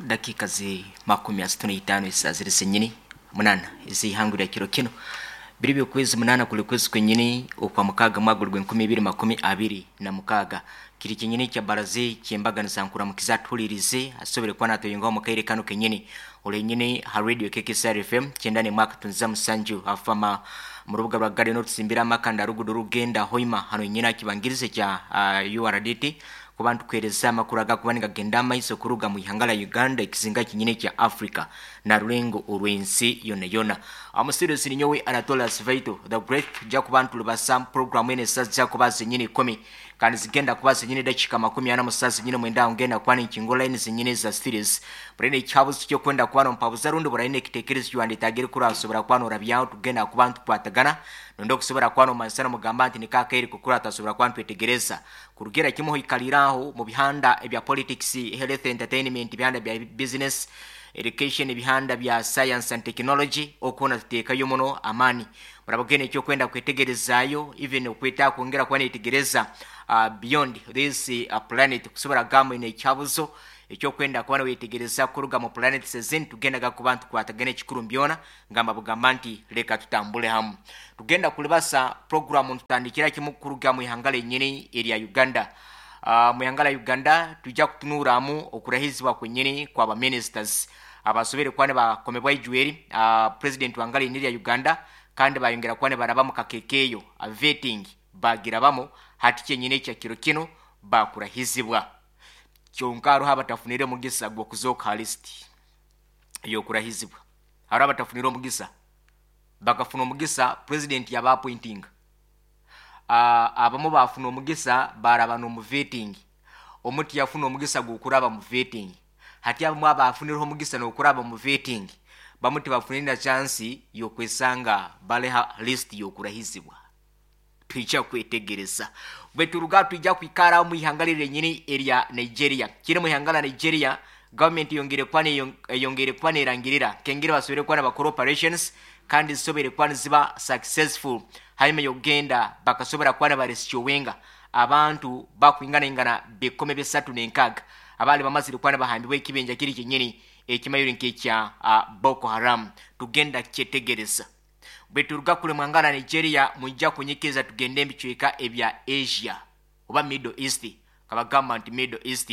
Dakiika zi 35 esaaha ziri zenyini 8 ez'eihangwe rya kiro kinu. Biri by'okwezi munaana kuri kwezi kwenyini okwa mukaaga mwaka guri gw'enkumi ibiri 26. Kiri kyenyini kya baraze ky'embaganiza nkuramukiza atuhuririze asobore kuba natweyungaho omu kaire kanu kenyini. Orenyini ha radio KKCR FM 91.7 afama mu rubuga rwa Garden orutsimbire amakanda rugudo rugenda Hoima hano nyina kibangirize kya URDT kuba ntukuhereza amakuru agakuba nigagenda amaiso kuruga mu ihanga lya Uganda ekizinga kinyine kya Africa na rurengo orw'ensi yona yona. Omusirusi ninyowe Anatolas Vaito the Great tujja kuba ntulubasa program eno esaaha zijja kuba zenyini ikumi kandi zigenda kuba zenyini dakiika 40 mu saaha zenyini mwenda aho ngenda kuba ninkingura line zenyini eza series. Buraine ekihabuzo ky'okwenda kuba nompabuza rundi buraine ekitekerezo kiwandetagire kurasobora kuba norabyaho tugenda kuba ntukwatagana nondi okusobora kuba nomanyisa nomugamba nti niko akaire kukura tasobora kuba ntwetegereza kurugira kimu hoikalire aho mu bihanda ebya politics, health, entertainment, ebihanda bya business, education, ebihanda bya science and technology okwo tuteekayo muno amaani. Murabagenda ekyokwenda kwetegerezaayo even okweta kwongera kuba netegereza beyond this planet kusobora kugamba oine ekihabuzo ekyokwenda kuba nowetegereza kuruga mu planets ezindi tugendaga kuba ntukwatagana ekikuru mbyona ngamba bugamba nti leka tutambule hamu. Tugenda kulibasa programu ntutandikira kimu kuruga mu ihanga lenyini erya Uganda. Mu ihanga lya Uganda tujja kutunuramu okurahizibwa kwenyini kwa ba ministers abasobere kuba nibakomebwa ijweri president wa ngala lya Uganda kandi bayongera kuba nibaraba mu kakekeyo vetting bagirabamu hati kyenyini ekya kiro kino bakurahizibwa. Kyonka hariho abatafunire omugisa gw'okuzooka ha list y'okurahizibwa. Hariho abatafunire omugisa bakafuna omugisa president yaba appointinga. Abamu bafuna omugisa baraba n'omu vetting. Omuti yafuna omugisa gw'okuraba mu vetting. Hati abamu abafunireho omugisa n'okuraba mu vetting bamu tibafunire na chance y'okwesanga baleha list y'okurahizibwa. Twija kwetegereza. Bwe turuga twija kwikara mu ihanga lyenyini erya Nigeria. Kiri mu ihanga la Nigeria government yongere kuba yongere kuba nerangirira kengere basobere kuba nabakora operations kandi zisobere kuba niziba successful hanyuma yogenda bakasobora kuba nabarescuinga abantu bakwingana bikome bisatu n'enkaga abali bamazire kuba nabahambibwa ekibenja kiri kyenyini ekimayiro nk'ekya Boko Haram. Tugenda kyetegereza. Bwe turuga kule mwanga la Nigeria mwijja kunyikiriza tugende ebicweka ebya Asia oba Middle East. Kabagamba nti Middle East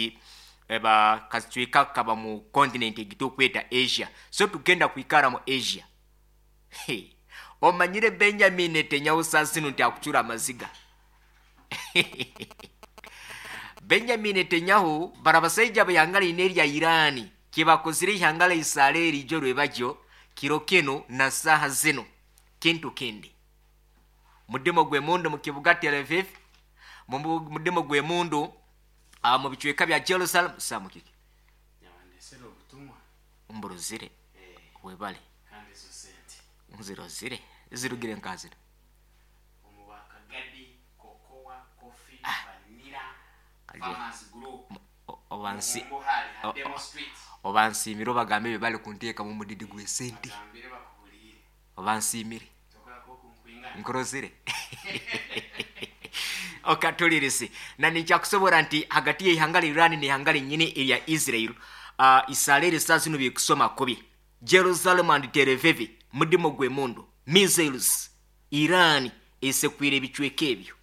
eba kacweka kaba mu continent egitukweta Asia. So tugenda kwikara mu Asia. Hey. Omanyire Benjamin Netanyahu sasinu nti akucura amaziga. Benjamin Netanyahu barabasaija bayangala ine lya Irani kibakozire ihanga la Israeli ijo rwebajyo kiro kino na saha zino kintu kindi. Mudimo gwe mundu mu kibuga Tel Aviv, mudimo gwe mundu mu bicweka bya Jerusalem samukiki. Nyabandesera obutumwa. Mburuzire. Webale. Kandi ezo sente. Nzirozire. Zirugire nkazira. Omubakagadi, cocoa, coffee, vanilla, farmers group. Obansi Muhali, Demo Street. Obansimire obagambe bebale kunteeka mu mudidi gw'esente. Bagambire bakubuliire. Obansimire. Tokolako okunkwingana. Nkurozire. Okatulirisi. Na nikyakusobora nti hagati y'ihanga lya Iran n'ihanga lyenyini erya Israel, Israel saa zino bikusoma kubi. Jerusalem and Tel Aviv mudimo gw'emundu. Missiles Iran esekwire ebicweka ebyo.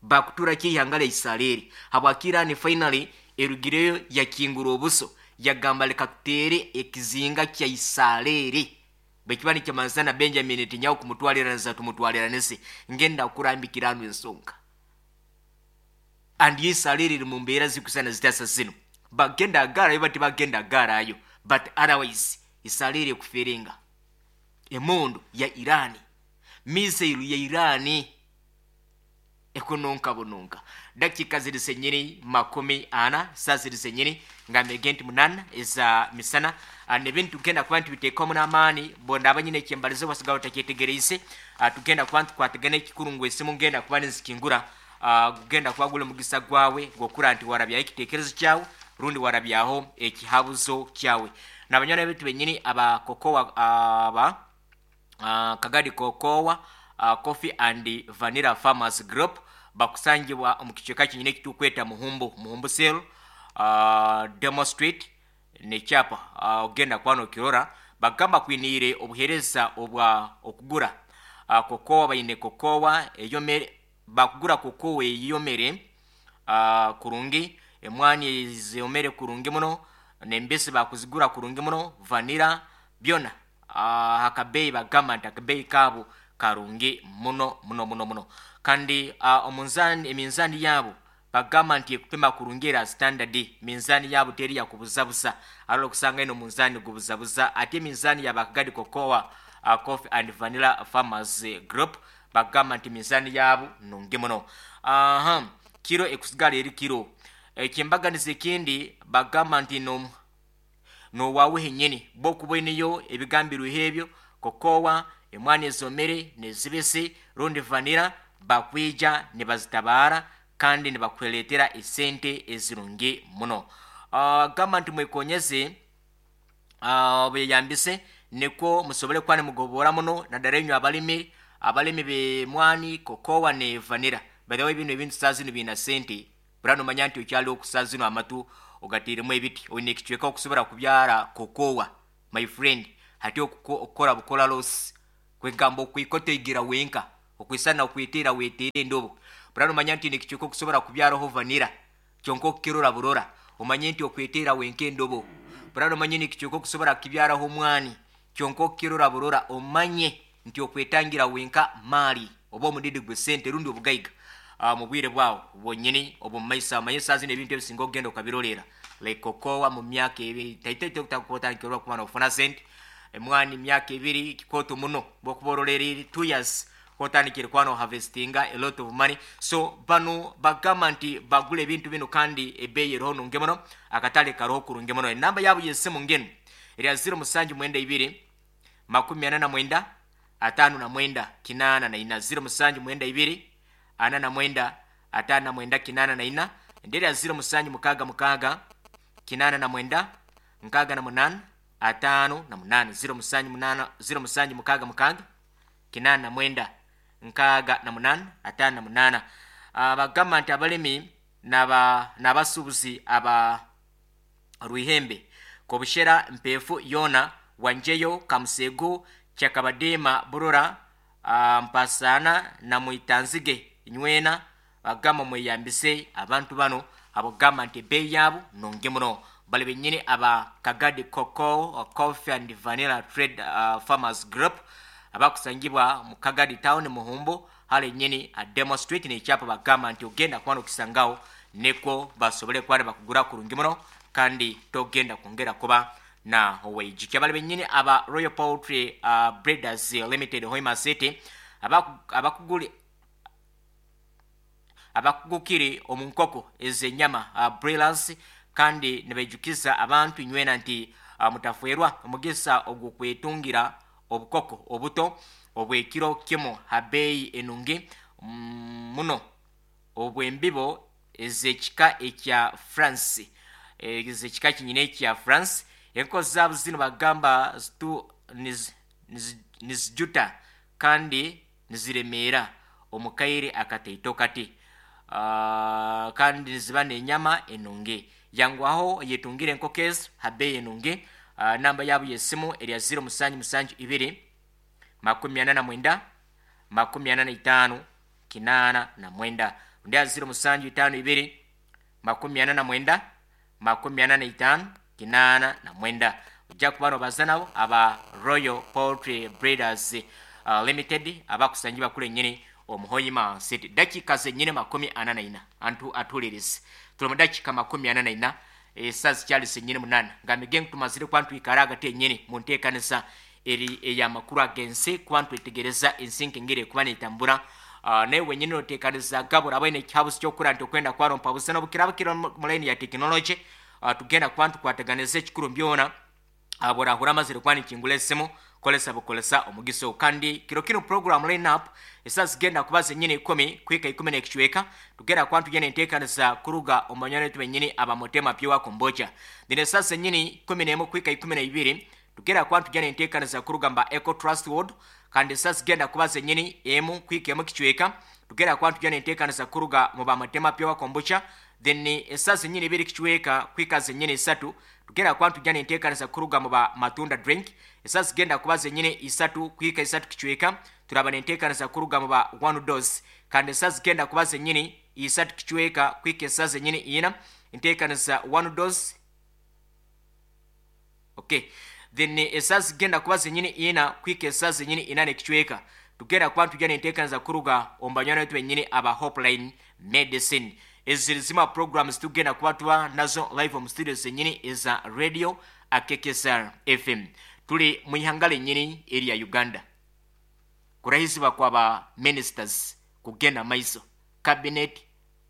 Bakutura ki ihanga lya Israel. Habwaki Iran finally erugireyo yakingura obuso yagamba leka tutere ekizinga kya Israel. Bwe kiba nikimanzana na Benjamin Netanyahu kumutwaliranisa tumutwaliranise ngenda kurambikira anu ensonga. And Israel eri mu mbeera zikusana zitasa zino. Bagenda agarayo bati bagenda agarayo but otherwise Israel ekuferenga. Emundu ya Iran, missile ya Iran ekunonka bunonka. Dakika ziri senyini 40 saa ziri senyini nga megenti 8 eza misana. Nebintu tugenda kuba ntibiteekamu n'amaani bonda abanyine ekyembalizo basigala batakyetegereise. Tugenda kuba ntukwatagana ekikuru ngu esimu ngenda kuba nizikingura. Gugenda kuba guli mugisa gwawe gwokura nti warabyaho ekitekerezo kyawe rundi warabyaho ekihabuzo kyawe. N'abanywana betu benyini aba kokowa aba Kagadi Kokowa Coffee and Vanilla Farmers Group bakusangibwa omu kicweka kinyine ekitukweta Muhumbu, Muhumbu Cell, Demo Street, N'ekyapa ogenda kuba nokirora bagamba kwiniire obuheereza obwa okugura kokowa baine kokowa eyomere bakugura kokowa eyomere kurungi emwani ezomere kurungi muno n'embisi bakuzigura kurungi muno vanira byona akabeeyi bagamba nti akabeeyi kaabo karungi muno muno muno muno kandi omunzani eminzani yaabo bagamba nti ekupima kurungi era standard minzani yaabo teri yakubuzabuza arora okusanga eno munzani gubuzabuza ate eminzani yabakagadi cocoa coffee and vanilla farmers group bagamba nti minzani yaabo nungi muno aha kiro ekusigala eri kiro ekyembaganiza ekindi bagamba nti no nowawe henyini bokuba oineyo ebigambirweho ebyo kokowa emwani ezomere nezibisi rundi vanira bakwija nibazitabaara kandi nibakuleetera esente ezirungi muno gamba nti mwekonyeze beyambise nikwo musobole kuba nimugobora muno naddala enywe abalimi abalimi b'emwani kokowa ne vanira by the way bino ebintu saa zino biina sente bura nomanya nti okyali okusaa zino amatu ogateiremu ebiti oine ekicweka okusobora kubyara kokowa my friend hati okukora bukora loss kwegamba okwikotegira wenka okwisana okwiteera weteera endobo bura nomanya nti nekicweka okusobora kubyaraho vanira kyonka okukirora burora omanye nti okweteera wenka endobo bura nomanye nekicweka okusobora kubyaraho omwani kyonka okukirora burora omanye nti okwetangira wenka maali oba omudidi gwe sente rundi obugaiga mu bwire bwawo bwonyini obwo mumaiso amanye saa zino ebintu ebisinga okugenda okabirolera like kokowa mu myaka ebiri taitaita kuba nofuna sente emwani myaka ebiri kikooto muno bwokuba orolerere 2 years kotandikire kuba noharvestinga a lot of money so bano bagamba nti bagula ebintu bino kandi ebeeyi eriho nungi muno akatale karoho kurungi muno enamba yaabo yesimu ngenu erya 0792 49 59 84 0792 49 59 84 ende erya 0766 89 68 58 078 0766 89 68 58 bagamba nti abalimi n'abasuubuzi aba rwihembe kobushera mpeefu yoona wanjeyo kamusego kyakabadiima burora mpasaana na mwitanzige nywena bagamba mweyambise abantu bano abagamba nti ebeeyi yaabo nungi muno bali benyini aba kagadi cocoa coffee and vanilla trade farmers group abakusangibwa mu kagadi town muhumbu hale nyini a demo street nekyapa bagamba nti ogenda kuba nokisangawo nikwo basobole kuba bakugura kurungi muno kandi togenda kwongera kuba na oweijukya bali benyini aba royal poultry breeders limited hoima city abakuguli abakugukire omu nkoko ez'enyama broilers kandi nibaijukiza abantu nywena nti mutafwerwa omugisa ogw'okwetungira obukoko obuto obw'ekiro kimu ha beeyi enungi muno obw'embibo ez'ekika ekya france ez'ekika kinyina ekya france enkoko zaabo zino bagamba zitu nizijuta kandi niziremeera omu kaire akataito kati kandi niziba n'enyama enungi yangwaho yetungire enkoko ezo ha beeyi enungi namba yaabo y'esimu erya 0772 49 45 89 undi 0752 49 45 89 ojja kuba nobaza nabo aba royal poultry breeders limited abakusangibwa kule nyini omuhoyima city dakika zenyini 44 antu atulirize tuli mu dakika 44 esaa zikyali zenyini 8 nga mige tumazire kuba ntwikara hagati enyini mu nteekanisa eri ey'amakuru ag'ensi kuba ntwetegereza ensi nkengeri ekuba neetambura naye wenyini noteekaniza gabura abaine ekihabuzi ky'okukura nti okwenda kwarompa busa n'obukiraba kiri mu layini ya tekinologi tugenda kuba ntukwataganiza ekikuru byona burahura amazire kuba nikingula esimu kolesa bukolesa omugisa ogwo kandi kiro kino program line up esaa zigenda kuba zenyini 10 kuhika 10 n'ekicweka tugenda kuba ntugenda enteekaniza kuruga omu banywani baitu benyini abamutema pure kombocha then esaa zenyini 11 kuhika 12 tugenda kuba ntugenda enteekaniza kuruga mba eco trust world kandi esaa zigenda kuba zenyini 1 kuhika 1 kicweka tugenda kuba ntugenda enteekaniza kuruga mu bamutema pure kombucha then esaa zenyini 2 kicweka kuhika zenyini 3 Tugenda kuba nitujja n'enteekanisa kuruga mu ba Matunda Drink. Esaaha zigenda kuba zenyine isatu kuhika isatu kicweka turaba n'enteekanisa kuruga mu ba One Dose. Kandi esaaha zigenda kuba zenyini isatu kicweka kuhika esaaha zenyine ina enteekanisa One Dose. Okay. Then esaaha zigenda kuba zenyini ina kuhika esaaha zenyini ina n'ekicweka tugenda kuba nitujja n'enteekanisa kuruga omu banywani baitu benyini aba Hopeline Medicine. Ezi ziri zimwe programs tugenda kuba tuba nazo live omu studio zenyini eza Radio Akekesar FM. Tuli mu ihanga lenyini erya Uganda. Kurahizibwa kwa ba ministers kugenda maiso, cabinet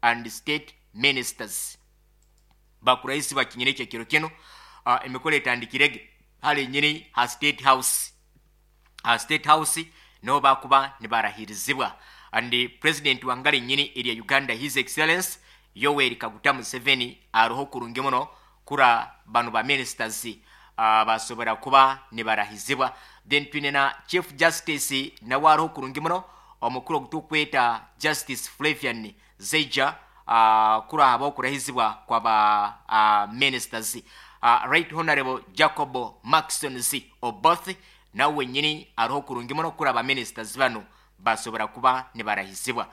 and state ministers bakurahizibwa kinyini ekyo kiro kino. Emikoro etandikirege hali nyini ha State House. Ha State House niho bakuba nibarahirizibwa. And president wangale nyini erya Uganda, His Excellence Yoweri Kaguta Museveni, aroho kurungi muno kura bano ba ministers basobora kuba nibarahizibwa. Then twine na Chief Justice nawe aroho kurungi muno, omukuru ogutukweta Justice Flavian Zeija, kura haba okurahizibwa kwa ba ministers. Right Honorable Jacob Maxon Z Oboth nawe wenyini aroho kurungi muno kura ba ministers bano basobora kuba nibarahizibwa.